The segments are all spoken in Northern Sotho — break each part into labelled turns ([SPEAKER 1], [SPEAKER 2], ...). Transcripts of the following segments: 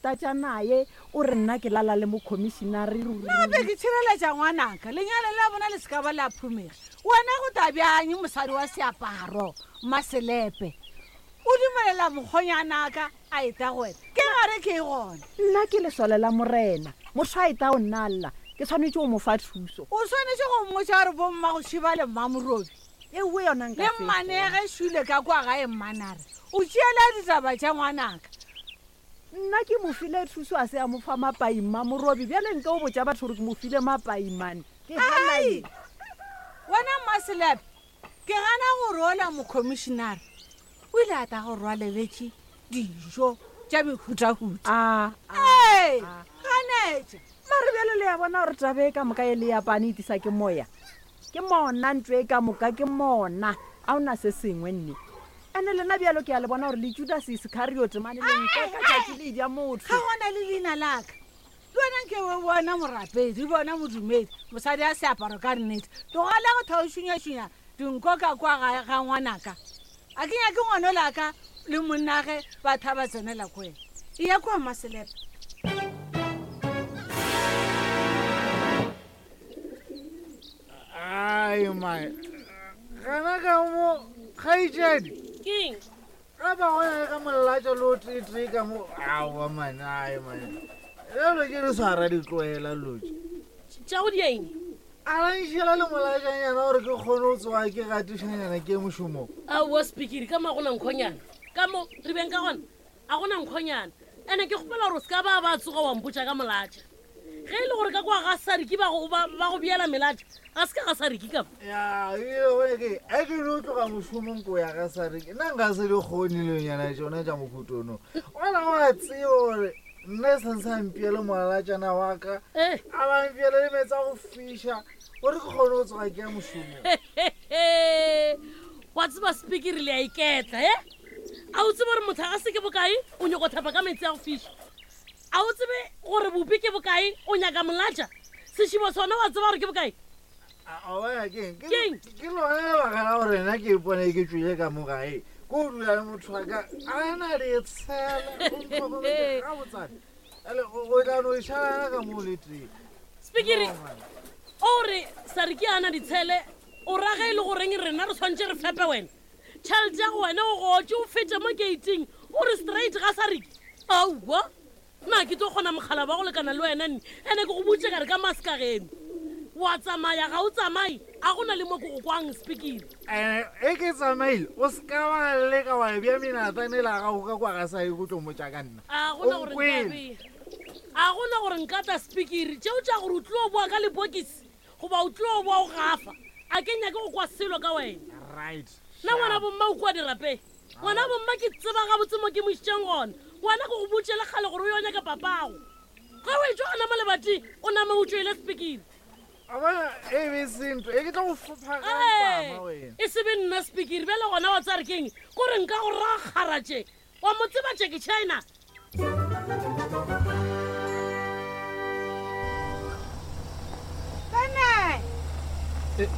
[SPEAKER 1] itatša naye o re nna ke lala le mokhomišinare ruri.
[SPEAKER 2] Nna be ke tšhireletša ngwanaka, lenyalo la bona le se ka ba la phumega. Wena go ta bjang mosadi wa seaparo, Mmaselepe? O dumelela mokgonyanaka a eta go wena? Ke gare ke e gona.
[SPEAKER 1] Nna ke lesole la Morena. Motho a eta go nna a lla, ke swanetše go mo fa thuso.
[SPEAKER 2] O swanetše go mmotša gore bommagošiba le mmamorobi
[SPEAKER 1] Ewe yona nka
[SPEAKER 2] le
[SPEAKER 1] se e
[SPEAKER 2] mmanege šule ka kwa gae mmanare o tšeela ditaba tša ngwanaka.
[SPEAKER 1] Nna ke mo file thuso a se a mo fa mapai mmamorobi bjale nke o botša batho gore ke mo file mapai mane. Ke gana
[SPEAKER 2] Ai!
[SPEAKER 1] eng?
[SPEAKER 2] Wena Mmaselepe, ke gana gore ola mokhomišinare o ile a tla go rwaleletše dijo tša mehutahuta.
[SPEAKER 1] A, a,
[SPEAKER 2] Ee,
[SPEAKER 1] a.
[SPEAKER 2] ganetša.
[SPEAKER 1] Mare bjale le ya bona gore taba e ka moka e le ya pane e tlisa ke moya. Ke mona ntlo e ka moka ke mona. A o na se sengwe nne. Ene lena bjalo ke a le bona gore le Judas Iskariote mane le nkeka tšatši le ja motho.
[SPEAKER 2] Ga gona le leina laka. Le wena nke o bona morapedi, o bona modumedi, mosadi a seaparo ka nnete. Tlogela go thwa o šunyašunya dinko ka kwa ga, ga ngwanaka. A ke nyake ngwano laka le monnage ba thaba tsenela ko wena. Eya kua Mmaselepe.
[SPEAKER 3] Ai mae. Gana ka mo kgaetšedi.
[SPEAKER 4] Keng?
[SPEAKER 3] Ga ba go ya ka molatša lo tee ka mo. Aowa mane, ai mane. Lelo ke re swara ditloela lotše.
[SPEAKER 4] Tša go dia eng?
[SPEAKER 3] A la nšela le molatšanyana gore ke kgone go tsoga ke gatišanyana ke mošomong.
[SPEAKER 4] Aowa speakeri ka mo a gona nkhonyana. Ka mo re beng ka gona a gona nkhonyana. Ene ke kgopela gore o se ka ba ba tsoga wa mpotša ka molatša. Ge e le gore ka kwa ga Sariki ba go ba ba go beela melatša, ga se ka ga Sariki ka mo.
[SPEAKER 3] Ya, ebile gone ke a ke no tloga mošomong ko ya ga Sariki. Nna nka se di kgone dilonyana tšona tša mohutono. Wena wa tseba gore nna e seng sa mpiele molatšana wa ka.
[SPEAKER 4] Eh.
[SPEAKER 3] A ba mpiele le meetse a go fiša gore ke kgone go tsoga ke ya mošomong.
[SPEAKER 4] Wa tseba Spikiri le a iketla, he? A o tsebe gore mohlagase ke bokae o nyoko thapa ka meetse a go fiša? A o tsebe gore bopi ke bokae o nyaka molatša? Sešebo sona wa tseba gore ke bokae?
[SPEAKER 3] A bona keng?
[SPEAKER 4] Keng?
[SPEAKER 3] Ke lona lebaka la gore nna ke ipone ke tšwile ka mo gae. Ko o dula le motho wa ka a na le tshela o ntlhokometse gabotsane. Ale o tla no šalana ka mo le tee.
[SPEAKER 4] Spikiri, o re Sariki a na ditshele o ra ge e le goreng rena re swanetše re fepe wena? Tšhelete ya go wena o gotše o fete mo gating o re straight ga Sariki. Aowa, na ke tlo kgona mokgala wa go lekana le wena nne ene ke go botše ka re ka maska geno wa tsamaya ga o tsamaye a go na le mo ke go kwang Spikiri.
[SPEAKER 3] Ene e ke tsamaile o se ka wa leka wa bea menatane la gago ka kwa ga Sariki o tlo mmotša ka nna.
[SPEAKER 4] A gona gore nka bea a gona gore nka tla Spikiri tšeo tša gore o tlo boa ka lepokisi goba o tlo boa o gafa a ke nyake go kwa selo ka wena.
[SPEAKER 3] Right.
[SPEAKER 4] Nna ngwana bomma o kua dirapeng. Ngwana bomma ke tseba gabotse mo ke mo išitšeng gona. Ngwana ke go botše le kgale gore o yo nyaka papago. Ge o etšwa gona mo lebating o nama o tšwele Spikiri.
[SPEAKER 3] A bona e be se ntho e ke tlo go fopha ka mpama wena.
[SPEAKER 4] E se be nna Spikiri bjale gona wa tseba re keng kore nka go rakgara tše Wa mo tseba Jackie China?
[SPEAKER 2] Pene! Eh,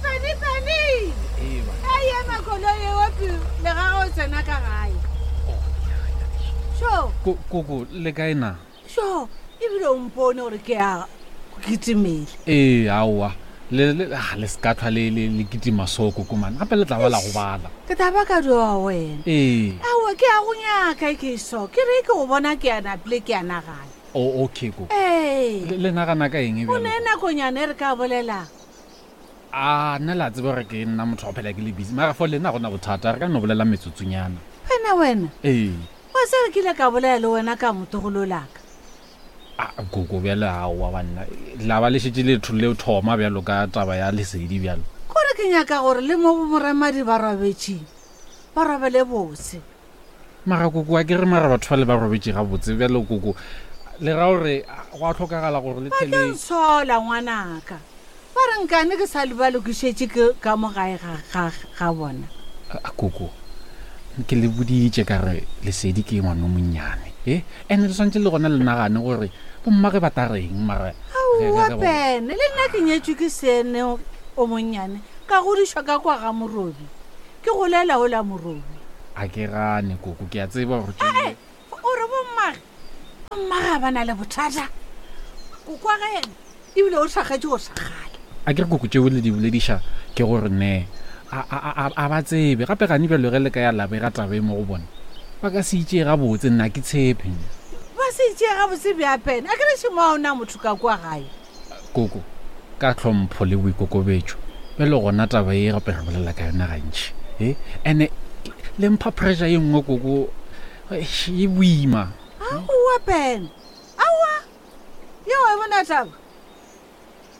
[SPEAKER 2] Pene, Pene! Ee, ema koloi eo pele ga ge o tsena ka gae. Sho!
[SPEAKER 5] Koko, le kae na?
[SPEAKER 2] Sho, ebile o mpone gore ke a kitimele.
[SPEAKER 5] Ee, aowa. Le, le, ah, le se ka tlhwa le, le, le kitima so, koko man. Gape le tla ba la gobala.
[SPEAKER 2] Ke tla ba ka doa wena.
[SPEAKER 5] Ee.
[SPEAKER 2] Aowa, ke a go nyaka e ke so. Ke re ke go bona ke a napile ke a nagana.
[SPEAKER 5] O, okay, koko.
[SPEAKER 2] Ee.
[SPEAKER 5] Le, le nagana ka eng
[SPEAKER 2] O
[SPEAKER 5] bjalo?
[SPEAKER 2] ne nakonyana e re ka bolelang.
[SPEAKER 5] A, nna le a tseba gore ke nna motho wa go phela ke le busy. Mara for lena ga go na bothata, re ka no bolela metsotsonyana.
[SPEAKER 2] Wena, wena.
[SPEAKER 5] Ee.
[SPEAKER 2] Wa tseba ke ile ka bolela le wena ka motlogolo laka.
[SPEAKER 5] A, koko bjale aowa banna. La ba le šetše le le thoma bjalo ka taba ya lesedi bjalo.
[SPEAKER 2] Kore ke nyaka gore le mo bomoremadi ba robetšeng, ba robele botse.
[SPEAKER 5] Mara koko a ke re mara batho bale ba robetše gabotse bjalo koko. Le ra gore go a hlokagala gore le
[SPEAKER 2] Ba
[SPEAKER 5] tle
[SPEAKER 2] tlo
[SPEAKER 5] le.
[SPEAKER 2] ntshola ngwanaka. Ba re nkane ke sa ba lokišetše ke ka mo gae ga, ga, ga bona.
[SPEAKER 5] A, koko, ke le boditše ka re Lesedi ke ngwana o monnyane, e? Ene le swantše le gona le nagane gore bommage ba ta reng mara ge, ge,
[SPEAKER 2] Aowa,
[SPEAKER 5] ge ba.
[SPEAKER 2] Pene, le nna ke nyetšwe ke Seene o monnyane, ka godišwa ka kwa ga Morobi. Ke golela o la Morobi.
[SPEAKER 5] A ke gane, koko, ke a tseba gore
[SPEAKER 2] Ee,
[SPEAKER 5] ke.
[SPEAKER 2] o re bommage? ga ba na le bothata kokwa ge yena ebile o thakgetše go thakgala.
[SPEAKER 5] A ke re koko tšeo le di bolediša ke gore ne a ba tsebe gape gane bjalo ge le ka ya la bega taba e mo go bona ba ka se itšee gabotse nna ke tshepe.
[SPEAKER 2] Ba se itšee gabotse bjapene a ke re šemo ga o na motho ka kwa gae.
[SPEAKER 5] Koko, ka tlhompho le boikokobetšo, bjale gona taba ye gape re bolela ka yona gantši e ene le mpha pressure ye nngwe koko e boima.
[SPEAKER 2] Aowa Pene, aowa yeo e bona taba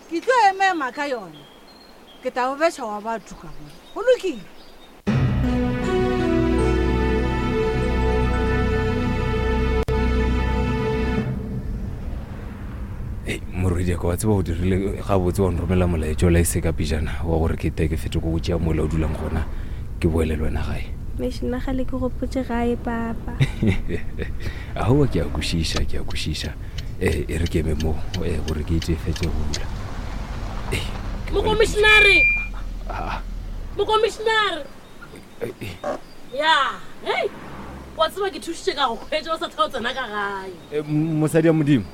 [SPEAKER 2] ke tlo emema ka yona ke tla o betšha wa batho ka bona go lokile.
[SPEAKER 6] Morwedi ka wa tseba o dirile gabotse wa nromela molaetša o la e se ka pejana wa gore ke te ke fete ko go tšea mola o dulang gona ke boele le wena gae.
[SPEAKER 7] Mešo nna gale ke gopotše gae papa.
[SPEAKER 6] Aowa ke a kwešiša, ke a kwešiša. Eh, e re ke eme mo eh, gore ke itse fetse go bula.
[SPEAKER 4] Eh, Mokomišinare! Ah. Mokomišinare! Eh, eh. Ya, hei! Wa tseba ke thušitše ka go hwetša o sa tla o tsena ka gae.
[SPEAKER 6] Eh, mosadi ya modimo.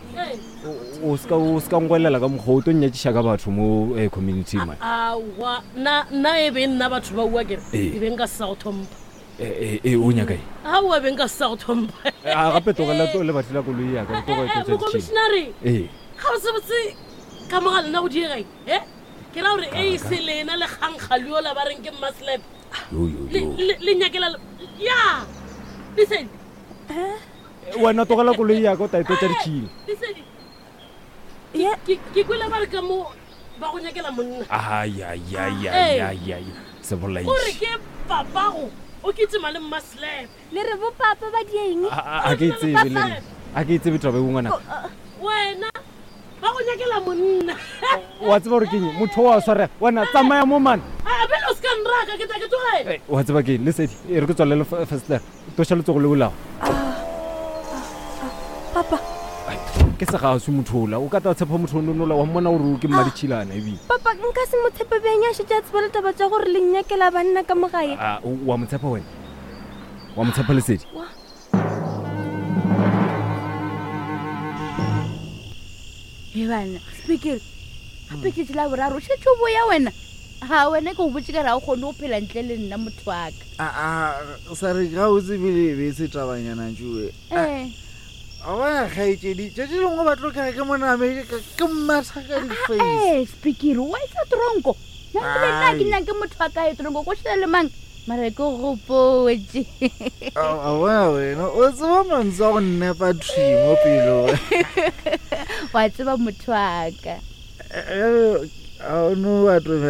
[SPEAKER 6] O ska o ska ngwelela ka mokgwa o tlo nnyatšiša ka batho mo eh, community man.
[SPEAKER 4] Aowa, nna nna e be nna batho ba ua kere. E be nka se sa go thompha.
[SPEAKER 6] Eh, eh, o nyaka eng?
[SPEAKER 4] Aowa be nka se sa go thompha.
[SPEAKER 6] A gape tlogela to lebatli la koloi ya ka tloga e tlotsa ditšhila.
[SPEAKER 4] Mokomišinare.
[SPEAKER 6] Ee.
[SPEAKER 4] Ga botsebotse ka mo ga lena go diega eng? Eh? Ke ra gore e se lena le kgankgaliola ba reng ke mmaslap.
[SPEAKER 6] Yo yo
[SPEAKER 4] Le
[SPEAKER 6] yo.
[SPEAKER 4] le le nyakela ya. Lesedi.
[SPEAKER 6] Wena tlogela koloi ya ka o tla e tlotsa ditšhila.
[SPEAKER 4] Lesedi. Ke ke kwele ba re ka mo ba go nyakela monna.
[SPEAKER 6] Ayayayayayay. Sebolaiši.
[SPEAKER 4] Gore ke papago o kitima le mmaslap.
[SPEAKER 7] Le re bo papa ba dieng?
[SPEAKER 6] A ke e tsebe le nna. A ke e tsebe taba e ngwana.
[SPEAKER 4] Wena ba go nyakela monna.
[SPEAKER 6] Wa tseba gore ke eng? Motho wa swarega. Wena tsamaya mo man.
[SPEAKER 4] A bele o se ka nraka ke tla ke tlogela.
[SPEAKER 6] Wa tseba ke eng? Lesedi e re ke tswalele fesetere. Toša letsogo leo lago.
[SPEAKER 7] Papa.
[SPEAKER 6] Ke segaswi motho ola. O ka tla tshepa motho ononola wa mmona gore o ke mmaditšhilana ebile.
[SPEAKER 7] Papa, nka se mo tshepe bjang a šetše a tseba le taba tša gore le nnyakela banna ka mo gae?
[SPEAKER 6] A wa mo tshepa wena? Wa mo tshepa Lesedi?
[SPEAKER 7] Wa.
[SPEAKER 8] E bana, Spikiri, gape tšatši la boraro o šetše o boya wena. Ga wena ke go botše ka re ga o kgone go phela ntle le nna motho wa ka.
[SPEAKER 3] Aa, sa re ga o tsebile e be e se tabanyana tšue.
[SPEAKER 8] Ee.
[SPEAKER 3] A bona kgaetšedi, tšatši lengwe ba tlo kere ke mo namele ke mmatha ka di-face.
[SPEAKER 8] Ee, Spikiri, wa isa tronko. Nna ebile nna ke
[SPEAKER 3] Ai.
[SPEAKER 8] nyake motho wa ka ye tronko go šele le mang mara ke gopotše.
[SPEAKER 3] A bona wena, o tseba mantswe a go nnepa thwi mo pelong.
[SPEAKER 8] Wa tseba motho wa ka.
[SPEAKER 3] Bjale, a o no atomela.